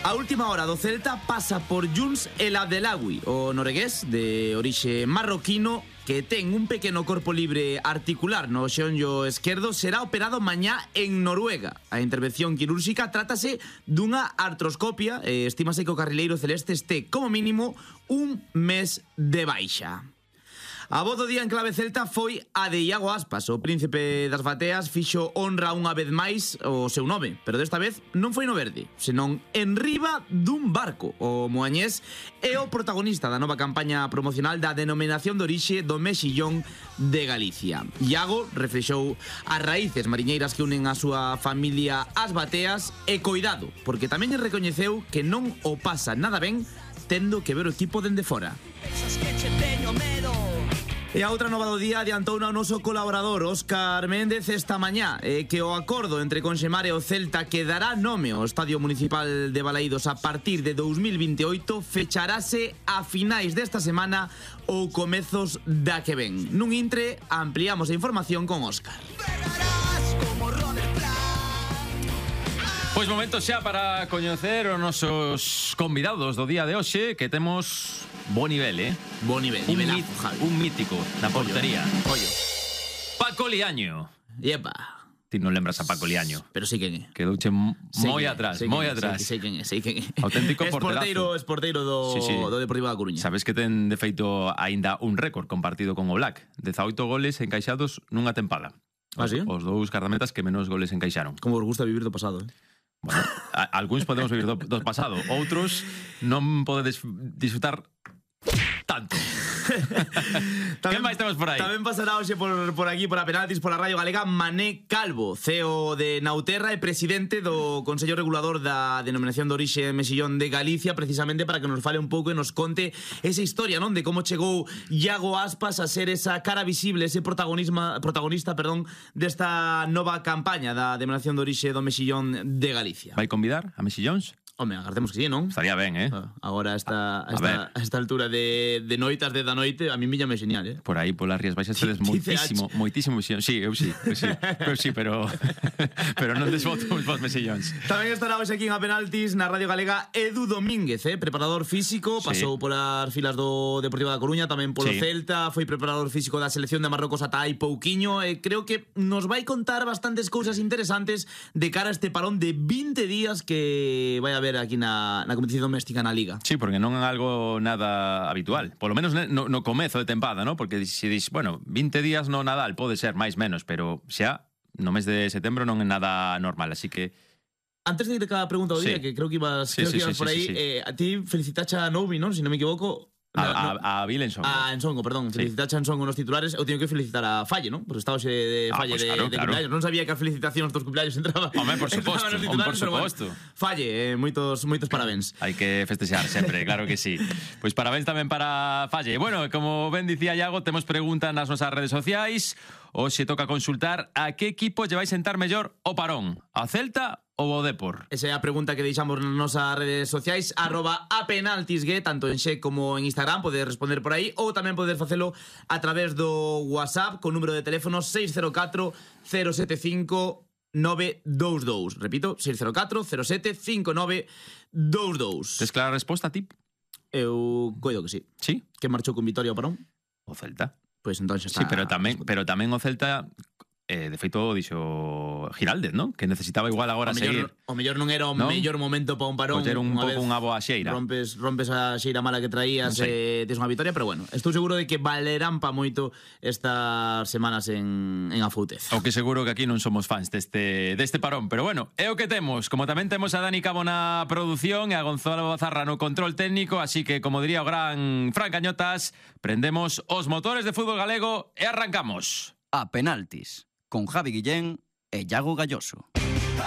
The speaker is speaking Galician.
A última hora do Celta pasa por Younes El Abdelawi, o noruegués de orixe marroquino que ten un pequeno corpo libre articular no xeonllo esquerdo, será operado mañá en Noruega. A intervención quirúrxica trátase dunha artroscopia e estímase que o carrileiro celeste este como mínimo un mes de baixa. A voz do día en clave celta foi a de Iago Aspas. O príncipe das bateas fixo honra unha vez máis o seu nome, pero desta vez non foi no verde, senón en riba dun barco. O moañés é o protagonista da nova campaña promocional da denominación de orixe do mexillón de Galicia. Iago reflexou as raíces mariñeiras que unen a súa familia ás bateas e coidado, porque tamén lle recoñeceu que non o pasa nada ben tendo que ver o equipo dende fora. E a outra nova do día adiantou o noso colaborador Óscar Méndez esta mañá que o acordo entre Conxemar e o Celta que dará nome ao Estadio Municipal de Balaídos a partir de 2028 fecharase a finais desta semana ou comezos da que ven. Nun intre ampliamos a información con Óscar. Pois momento xa para coñecer os nosos convidados do día de hoxe, que temos bo nivel, Bo nivel, nivelazo, Javi. Un mítico na portería. Ollo. Paco Liaño. Yepa. Ti non lembras a Paco Liaño? Pero sí quen é. Quedouche moi atrás, moi atrás. Sei quen é. Auténtico porterazo. Esporteiro do Deportivo da Coruña. Sabes que ten de feito aínda un récord compartido con o Black. 18 goles encaixados nunha tempada. Ah, sí? Os dous guardametas que menos goles encaixaron. Como vos gusta vivir do pasado, Bueno, algúns podemos vivir do pasado, outros non podedes disfrutar tanto. Que máis temos por aí? Tamén pasará hoxe por aquí, por a Penaltis, por a Radio Galega, Mané Calvo, CEO de Nauterra e presidente do Consello Regulador da denominación de orixe mexillón de Galicia, precisamente para que nos fale un pouco e nos conte esa historia, non, de como chegou Iago Aspas a ser esa cara visible, ese protagonista, desta nova campaña da denominación de orixe do mexillón de Galicia. Vai convidar a mexillóns? Home, agardemos que sí, non? Estaría ben, Agora a esta altura de noitas de da noite, a mí míllame genial, Por aí, polas Rías Baixas, tedes moitísimo mexillón. Sí, eu sí, pero non desvoto os mexillóns. Tamén estará hoxe aquí en A Penaltis, na Radio Galega, Edu Domínguez, preparador físico, pasou polas filas do Deportivo da Coruña, tamén polo Celta, foi preparador físico da selección de Marrocos ata hai pouquiño, e creo que nos vai contar bastantes cousas interesantes de cara a este parón de 20 días que vai haber aquí na competición doméstica na Liga. Sí, porque non é algo nada habitual. Por lo menos no comezo de tempada, ¿no? Porque se dis, bueno, 20 días no Nadal pode ser máis menos, pero xa no mes de setembro non é nada normal, así que antes de ir a pregunta do día, que creo que ibas por aí, a ti felicitache a Novi, non? Se non me equivoco. A Vilensongo. A Ensongo, perdón. Felicitache a Ensongo nos titulares. Eu teño que felicitar a Falle, non? Porque estaba hoxe de Falle de cumpleaños. Non sabía que a felicitación dos cumpleaños entraba. Home, por suposto. Falle, moitos parabéns. Hai que festexar sempre, claro que sí. Pois parabéns tamén para Falle. Bueno, como ben dicía Iago, temos preguntas nas nosas redes sociais. Hoxe toca consultar a que equipo lle vai sentar mellor o parón. A Celta ou o Depor? Esa é a pregunta que deixamos nas nosas redes sociais, @apenaltisgue, tanto en Xe como en Instagram, podes responder por aí, ou tamén podes facelo a través do WhatsApp con número de teléfono 604 075 922. Repito, 604 07 5922. Tes clara a resposta, tip? Eu coido que sí. Sí? Que marchou con Vitoria o parón? O Celta. Pois entón xa está. Sí, pero tamén o Celta de feito dixo Giraldez, ¿no? Que necesitaba igual agora seguir. O mellor non era o mellor momento para un parón. Pois era un pouco unha boa xeira. Rompes a xeira mala que traías, tes unha vitoria, pero bueno, estou seguro de que valerán pa moito estas semanas en Afoutez. O que seguro que aquí non somos fans deste parón, pero bueno, é o que temos. Como tamén temos a Dani Cabo na produción e a Gonzalo Bazarra no control técnico, así que, como diría o gran Fran Cañotas, prendemos os motores de fútbol galego e arrancamos. A Penaltis, con Javi Guillén e Iago Galloso.